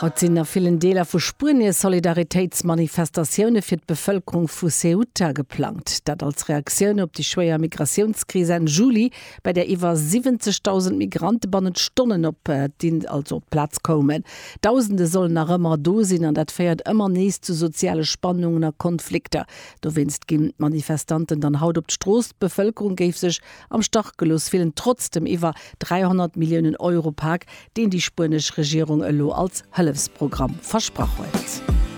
Haut sinn a villen Deeler vu Spuenie Solidaritéitsmanifestatioune fir d'Bevëlkerung vu Ceuta geplangt. Dat als Reaktioun op déi schwéier Migratiounskris Enn Juli, bei där iwwer 70.000 Migrante bannent Stonnen op also op d'Plaz koumen. Dausende sollen nach ëmmer do sinn an dat féiert ëmmer nees zu soziale Spannungen a Konflikter. Dowéinst ginn d'Manifestanten dann haut op d'Strooss. D'Bevëlkerung géif sech am Stach gelooss fillen, trotz dem iwwer 300 Milliounen Euro Pak, deen déi spuenesch Regierung elo als Hëllefsprogramm versprach huet.